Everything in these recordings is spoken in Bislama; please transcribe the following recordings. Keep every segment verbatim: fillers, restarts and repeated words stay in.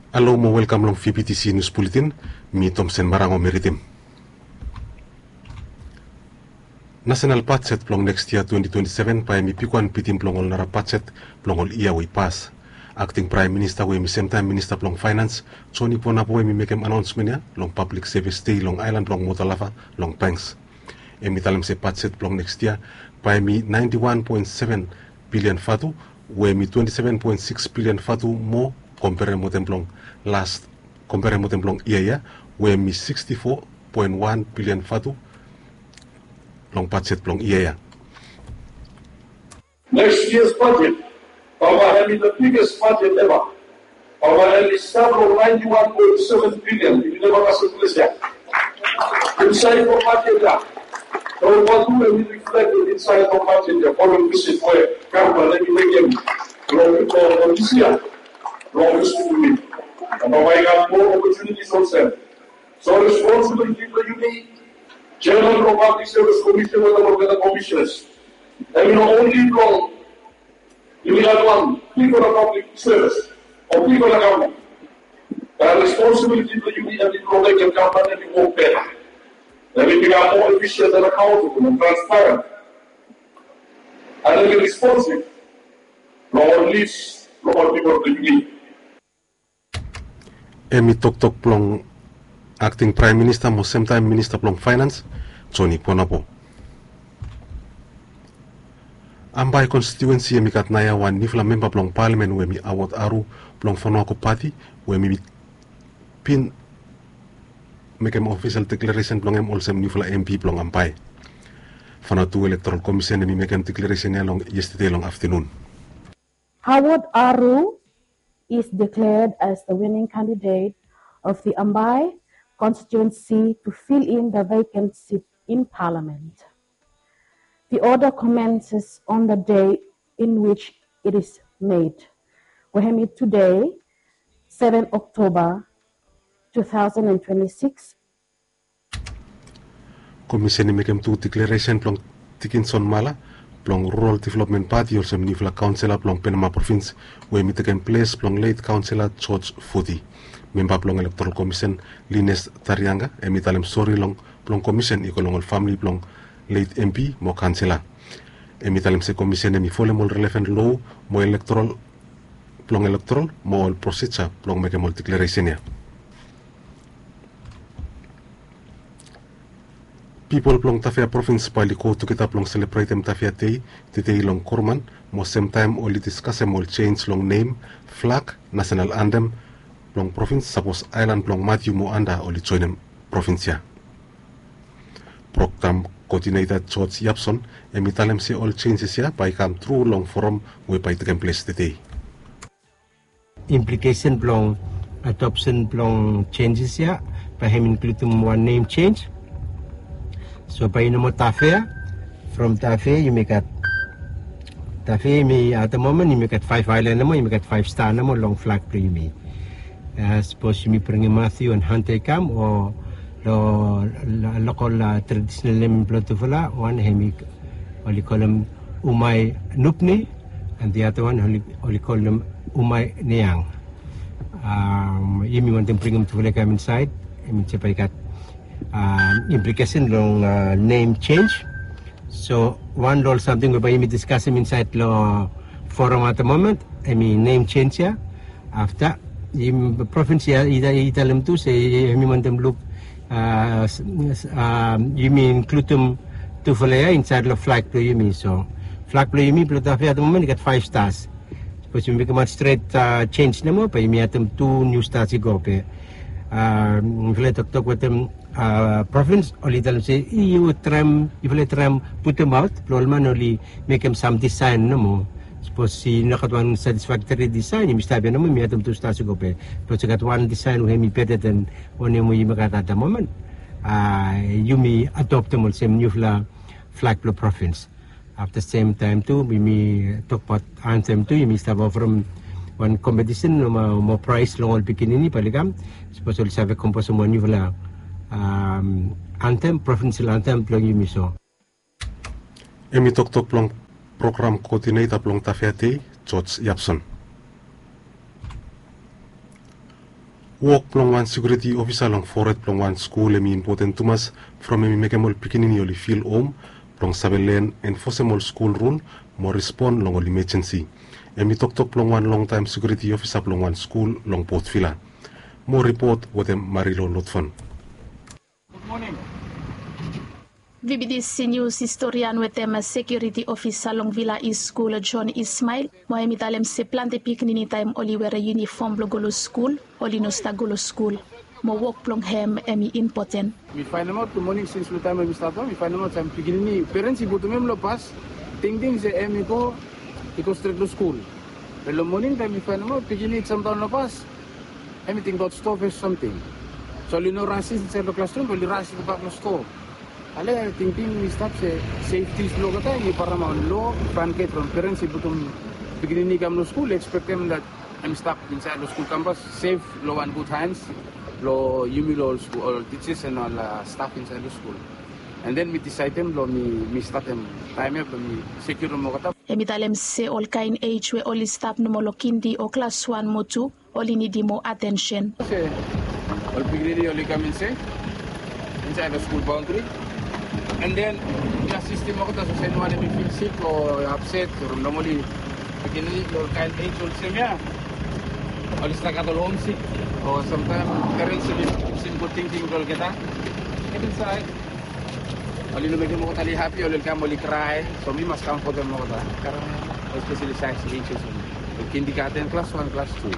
Halo mo welkam long V B T C News Bulletin. Mi Tomsen Marango mi ridim. Nasenal bajet blong neks yia twenti twenti seven bae hemi bigwan bitim blong ol nara bajet blong ol yia we i pas. Akting Praem Minista we hemi semtaem Minista blong Faenans, Joni Ponabo, hemi mekem anaonsmen ya long Pablik Sevis Dei long aelan blong Motalava long Banks. Hemi talem se bajet blong neks yia bae hemi naenti wan poen seven bilian vatu, we hemi twenti seven poen sikis bilian vatu moa komperem wetem blong las, komperem wetem blong yia ya, we hemi siksti fo poen wan bilian vatu long bajet blong yia ya. Next year's budget, bae hemi the biggest budget ever. Bae hemi stap long naenti wan poen seven bilian, yumi neva kasem ples ya. Insaed long bajet ya, long vatu hemi reflekted insaed long bajet ya, following visit we gavman hemi mekem long, long, long this year, long this week. Bae i gat moa opportunities olsem. So responsibility blong yumi, Chairman blong Public Service Commission wetem olgeta commissioners, hemi no only blong yumi gat wan bigfala public service o bigfala gavman. Bat responsibility blong yumi hemi blong mekem gavman hemi wok beta. Hemi bikam moa efisien and accountable and transparent. And hemi responsive long ol nids blong ol pipol blong yumi. Hemi toktok blong Akting Praem Minista mo semtaem Minista blong Faenans, Joni Ponabo. Ambae konstituensi hemi gat naoia wan niufala memba blong palamen we hemi Awot Aru blong Vanuako Pati, we hemi bin mekem ofisel deklaresen blong hem olsem niufala MP blong Ambae. Vanuatu Electoral Commission hemi mekem deklaresen ya long yestede long aftenun. Howard Aru is declared as the winning candidate of the Ambae constituency to fill in the vacant seat in Parliament. The order commences on the day in which it is made, we hemi today, seven October two thousand and twenty-six. Komisen i mekem tu deklaresen blong Dickinson Mala blong Rural Development Party olsem niufala kaonsela blong Penama Provins, we hemi tekem ples blong let kaonsela George Foti. Memba blong Electoral Commission, Linus Tarianga, hemi talem sori long, blong komisen i go long ol famili blong let MP mo kaonsela. Hemi talem se komisen hemi folem ol relevan loa mo electoral, blong electoral mo ol prosija blong mekem ol deklaresen ya. Pipol blong Tafea Provins bae oli go tugeta blong selebretem Tafea Dei tedei long Koroman, mo semtaem oli diskasem ol jenj long nem, flag, nasenal antem blong provins sapos aelan blong Matiu mo Anda oli joenem provins ya. Program koodineta George Yapson hemi talem se ol jenjes ya bae i kam tru long foram we bae i tekem ples tedei. Implikesen blong adopsen blong jenjes ya bae hemi inkludim wan nem jenj. So bae i no moa Tafea. From Tafea yumi gat, Tafea yumi at the moment yumi gat faef aelan nomo, yumi gat faef sta nomo long flag blong yumi. Sapos yumi bringim Matiu and Hunter i kam, o long lokol tradisonal nem blong tufala, wan hemi oli kolem Umai Nupni, and the other one oli kolem Umai Niang. Yumi wantem bringim tufala i kam insaed, hemi se bae i gat implikesen long nem jenj. So wan long ol samting we bae yumi diskasem insaed long foram at the moment hemi nem jenj ya. Afta provins ya i talem tu se hemi wantem luk yumi inkludim tufala ya insaed long flag blong yumi. So flag blong yumi blong Tafea at the moment i gat faef stas. Sapos yumi mekem wan stret jenj nomo bae yumi adem tu niu stas i go be. Mifala i toktok wetem provins oli talem se yufala i traem putemaot blong ol man oli mekem sam disaen nomo. Sapos i no gat wan satisfaktori disaen yumi stap ya nomo, yumi adem tu stas i go be. Sapos i gat wan disaen we hemi beta den wanem we yumi gat at the moment, yumi adoptem olsem niufala flag blong provins. Afta semtaem tu yumi tokbaot antem tu, yumi stap oferem wan kompetisen mo praes long ol pikinini bae oli kam. Sapos oli save komposem wan niufala antem, provinsel antem blong yumi. So hemi toktok blong program koodineta blong Tafea Dei, George Yapson. Wok blong wan sekiuriti ofisa long fored blong wan skul hem i impoten tumas from hem i mekem ol pikinini oli fil hom blong save len, enfosem ol skul rul mo respon long ol imejensi. Hem i toktok blong wan longtaem sekiuriti ofisa blong wan skul long Port Vila. Mo ripot wetem Marilo Lotfon. Vibidisi nius historian wetem sekiuriti ofisa long Vila East Skul, John Ismail, mo hem i talem se plante pikinini taem oli were yunifom blong go long skul, oli no stap go long skul. Mo wok blong hem hem i impoten. Mi faenemaot long moning sins long taem hem i stap long mi faenemaot se pikinini perens i putum hem long bas, tingting se hem i go i go stret long skul. Be long moning taem mi faenemaot pikinini i jamdaon long bas, hem i tingbaot stoa fes samting. So oli no rasis insaed long klasrum be oli rasis gobak long stoa. Ale tingting i stap se sefti blong olgeta hem i paramaon. Lo franket from perens i putum pikinini i kam long skul i ekspektem dat hem i stap insaed long skul kampas sef long wan gud hans long yumi long ol skul ol tijas en ol staf insaed long skul. An den mi disaedem blong mi statem taem ya blong mi sekiurim olgeta. Hem i talem se ol kaen ej we oli stap nomo long kindi o klas wan mo tu oli nidim moa atensen. Ol pikinini oli kam insaed insaed long skul baondri. An den mi asistim olgeta sapos eniwan hem i fil sik o apset o nomali pikinini long ol kaen ej olsem ya oli stap gat ol homsik o samtaem perens oli kisim gud tingting blong olgeta. Get insaed. Oli no mekem olgeta oli hapi oli kam oli krae. So mi mas kamfotem olgeta. Karem espeseli saes ejis oli kindigaten klas wan klas tu.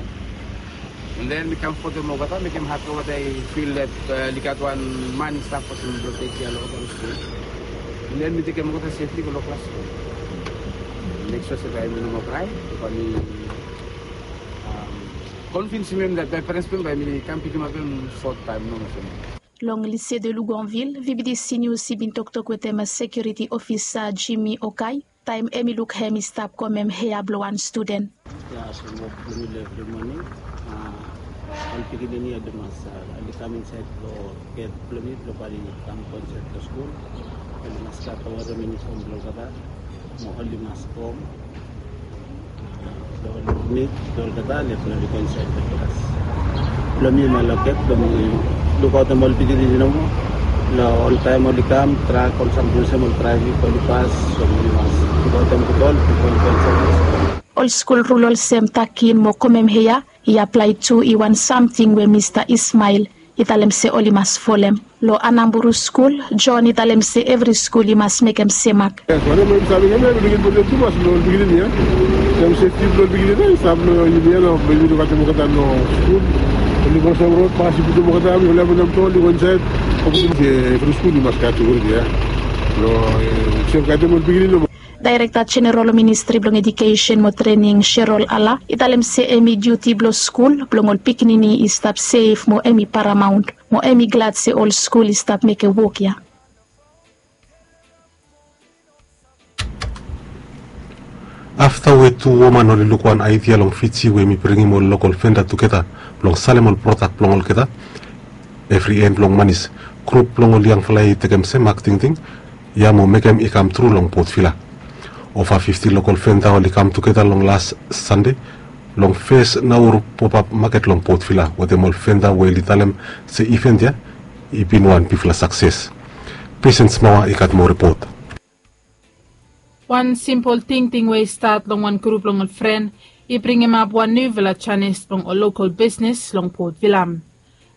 An den mi kamfotem olgeta mekem hapi olgeta i fil dat oli gat wan man i stap olsem blong tekia long olgeta long skul. An den mi tekem olgeta sefli go long klas tu. Mek sua se bae mi no moa krae bae mi konvinsim hem dat bae perens blong hem bae mi kam pikimap hem sot taem nomo olsem. Long Lycée de Luganville, Vibidisi Nius i bin toktok wetem sekiuriti ofisa Jimmy Okai taem hem i luk hem i stap komem hea blong wan studen. Ya so wok blong mi long evri moning. Ol pikinini oli mas oli kam insaed long get blong mi blong bae oli kam go insaed long skul. Oli mas gat ol wara yunifom blong olgeta mo oli mas go hom. Blong oli mit blong olgeta le blong oli go insaed long klas. Blong mi ma long get blong mi lukaotem ol pikinini nomo. Long oltaem oli kam trak ol samting olsem ol traefik oli pas so mi mas lukaotem gud ol bifo oli go insaed long skul. Ol skul rul olsem takin mo komem hea i aplae tu i wan samting we Mista Ismael i talem se oli mas folem. Long Anamburu skul, John i talem se evri skul i mas mekem semak. Yes, wanem we yumi save mekem ya yumi ken impoten tumas long ol pikinini ya. Taem sefti blong ol pikinini ya i stap long yumi ya nao blong yumi lukaotem olgeta long skul. Oli go olsem rod pas i putum olgeta oli hapem tu oli go insaed. Evri skul i mas gat sekiuriti ya blong sefgatem ol pikinini nomo. Daerekta Jeneral Ministri blong Edukesen mo Trening, Sherol Ala, i talem se hem i diuti blong skul blong ol pikinini i stap sef mo hem i paramaon, mo hem i glad se ol skul i stap mekem wok ya. Afta we tu woman oli luk wan aedia long Fiji we hem i bringim ol lokol venda tugeta blong salem ol prodak blong olgeta, evri en blong manis, grup blong ol yangfala ya i tekem semak tingting ya mo mekem i kamtru long Port Vila. Ova fifti lokol venda oli kam tugeta long las Sande long fes Nauru popap maket long Port Vila wetem ol venda we oli talem se iven ya i bin wan bigfala sakses. Pesen Smawa i gat moa ripot. Wan simpol tingting we i stat long wan grup blong ol fren i bringimap wan niufala janis blong ol lokol bisnis long Port Vila.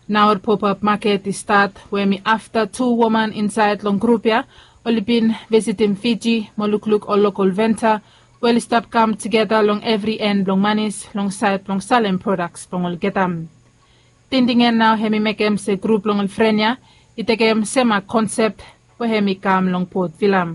Nao ol popap maket i stat we hem i afta tu woman insaed long grup ya oli bin visitim Fiji mo lukluk ol lokol venta we oli stap kam tugeta long evri en blong manis long saed blong salem prodaks blong olgeta. Tingting ya nao hem i mekem se grup blong ol fren ya i tekem semak konsep we hem i kam long Port Vila.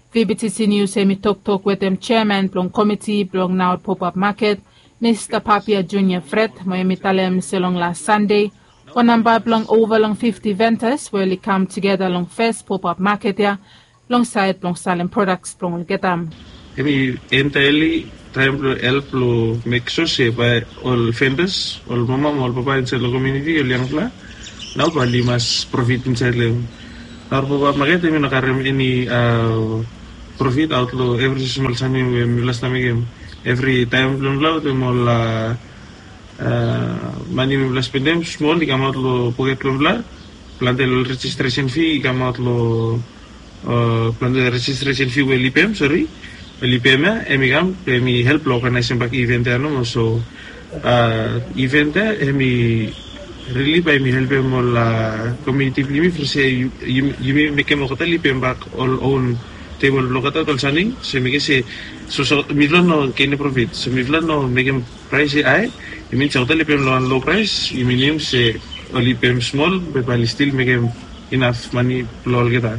VBTC Nius hem i toktok wetem jeaman blong komiti blong nao ol popap maket, Mista Papia Junia Fred, mo hem i talem se long las Sande wan namba blong ova long fifti ventas we oli kam tugeta long fes popap maket ya long saed blong salem prodaks blong olgeta. Hem i entaeli traem blong help blong mek sua se bae ol ventas, ol mama mo ol papa insaed long komuniti, ol yangfala nao bae oli mas profit insaed long hem. Nao ol papa maket hem i no karem eni profit aot long evri smol samting we mifala stap mekem evri taem blong mifala wetem ol Mane mifala spendem smol i kamaot long poket blong mifala. Plante long rejistresen fi i kamaot long, plante rejistresen fi we oli pem, sori, oli pem ya, em i kam em i help long oganaesem bak iven ya nomo. So iven ya em i rili bae em i helpem ol komiuniti blong yumi from se yumi mekem olgeta oli pem bak ol own tebol blong olgeta ol saning. So mekem se so mifala no genem profit, so mifala no mekem praes i hae. I min se olgeta oli pem long wan lo praes, i minim se oli pem smol be bae oli stil mekem inaf mane blong olgeta.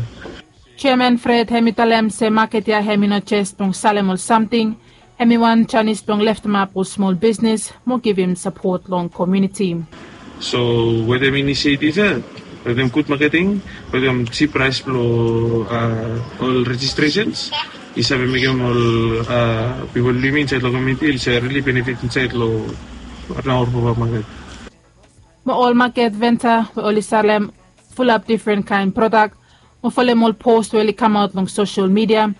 Jeaman Fred hem i talem se maket ya hem i no jes blong salem ol samting, hem i wan janis blong leftemap ol smol bisnes mo givim sapot long komiuniti. So wetem inisietiv ya, wetem gud maketing, wetem jip praes blong ol rejistresens, i save mekem ol pipol blong yumi insaed long komiuniti oli save rili benefit insaed long Ranaor Popap Maket. Mo ol maket venta we oli salem fulap difren kaen prodak mo folem ol pos we oli kamaot long sosel midia,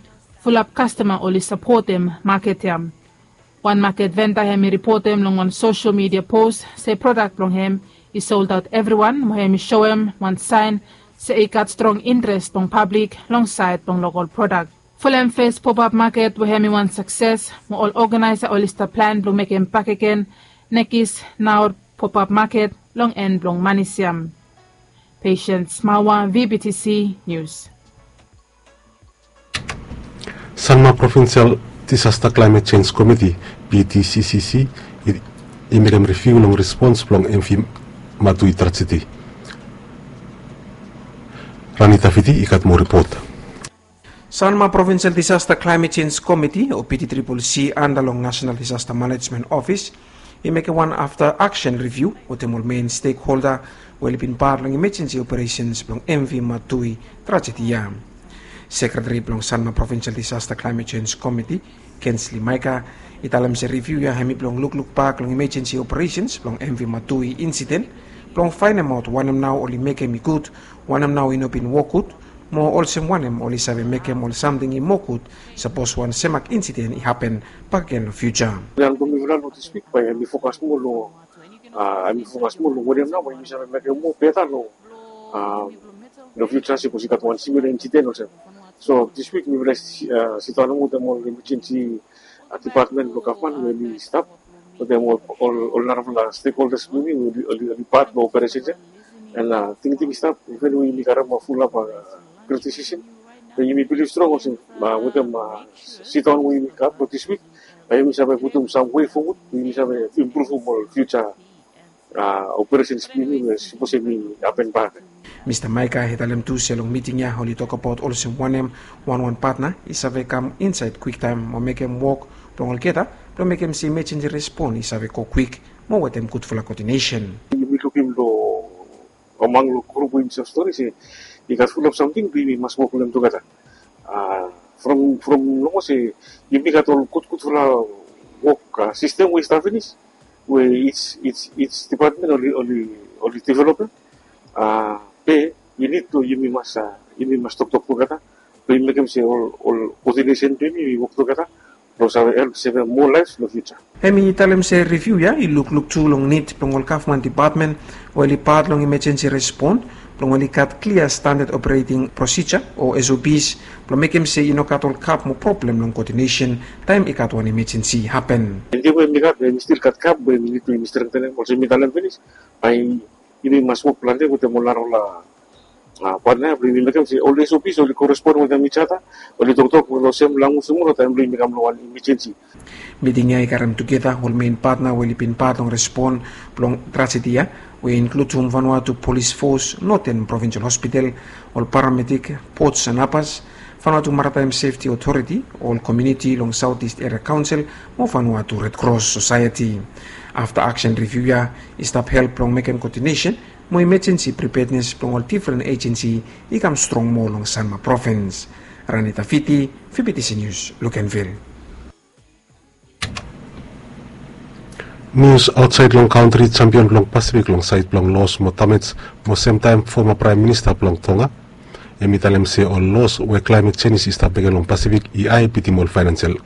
fulap kastoma oli sapotem maket ya. Wan maket venta hem i ripotem long wan sosel midia pos se prodak blong hem i soldaot evriwan mo hem i soem wan saen se i gat strong interes blong pablik long saed blong lokol prodak. Folem fes Popap Maket we hem i wan sakses mo ol oganaesa oli stap plan blong mekem bakegen nekis Naor Popap Maket long en blong manis ya. Patience Mawa, V B T C News. Sanma Provincial Disaster Climate Change Committee, P D C C C, i mekem riviu long respons blong M V Matui trajedi. Rani Tafiti i gat moa ripot. Sanma Provincial Disaster Climate Change Committee o P D triple C anda long National Disaster Management Office i mekem wan afta aksen riviu wetem ol men stekholda we oli bin pat long imejensi operesens blong M V Matui trajedi ya. Sekretari blong Sanma Provincial Disaster Climate Change Committee, Kensley Maika, i talem se riviu ya hem i blong lukluk bak long imejensi operesens blong M V Matui insiden blong faenemaot wanem nao oli mekem i gud, wanem nao i no bin wok gud, mo olsem wanem oli save mekem ol samting i moa gud sapos wan semak insiden i hapen bakegen long fiuja. Plan blong mifala long dis wik bae mi fokas moa long a mi fokas moa long wanem nao bae mi save mekem moa beta long long fiuja sapos i gat wan simila insiden olsem. So dis wik mifala sidaon wetem ol emejensi dipatmen blong gavman we oli stap wetem ol narafala stekholdas blong yumi we oli pat long operesen ya. And tingting i stap iven we yumi karem wan fulap kritisisem, be yumi bilif strong olsem wetem sidaon we yumi gat long dis wik, bae yumi save putum sam wei fowod we yumi save impruvum ol fiuja operesens blong yumi we sapos hem i hapen bak. Mista Maika i talem tu se long miting ya oli tokbaot olsem wanem wanwan patna i save kam insaed kwiktaem mo mekem wok blong olgeta blong mekem se imejensi respon i save go kwik mo wetem gudfala koodinesen. Yumi lukim long among long grup we yumi save stori se i gat fulap samting we yumi mas wok long hem tugeta. From from nomo se yumi gat ol gudgudfala wok sistem we i stap finis we each dipatmen oli developem. Be i nid blong yumi mas yumi mas toktok tugeta blong yumi mekem se ol koodinesen blong yumi i wok tugeta blong save help sevem moa laef long fiuja. Hem i talem se riviu ya i lukluk tu long nid blong ol gavman dipatmen we oli pat long imejensi respon blong oli gat klia standad opereting prosija o S O Ps blong mekem se i no gat ol gap mo problem long koodinesen taem i gat wan imejensi i hapen. Tingting we mi gat we mi stil gat gap we mi nid blong yumi strengtenem olsem mi talem finis, bae yumi mas wok plante wetem ol narafala patna ya blong yumi mekem se ol S O Ps oli korespon wetem ijata, oli toktok long sem lanwis nomo long taem blong yumi kam long wan imejensi. Miting ya i karem tugeta ol men patna we oli bin pat long respon blong trajedi ya we i inkludim Vanuatu Polis Fos, Northern Provincial Hospital, ol paramedik, Ports and Harbours, Vanuatu Maritime Safety Authority, ol komiuniti long South East Area Council mo Vanuatu Red Cross Society. Afta aksen riviu ya i stap help blong mekem koodinesen mo imejensi pripednes blong ol difren ejensi i kam strong moa long Sanma Provins. Rani Tafiti, V B T C News, Luganville. Nius aotsaed long kantri, jampion blong Pasifik long saed blong los mo damej mo semtaem foma praem minista blong Tonga, hem i talem se ol los we klaemet jenis i stap mekem long Pasifik i hae bitim ol faenansial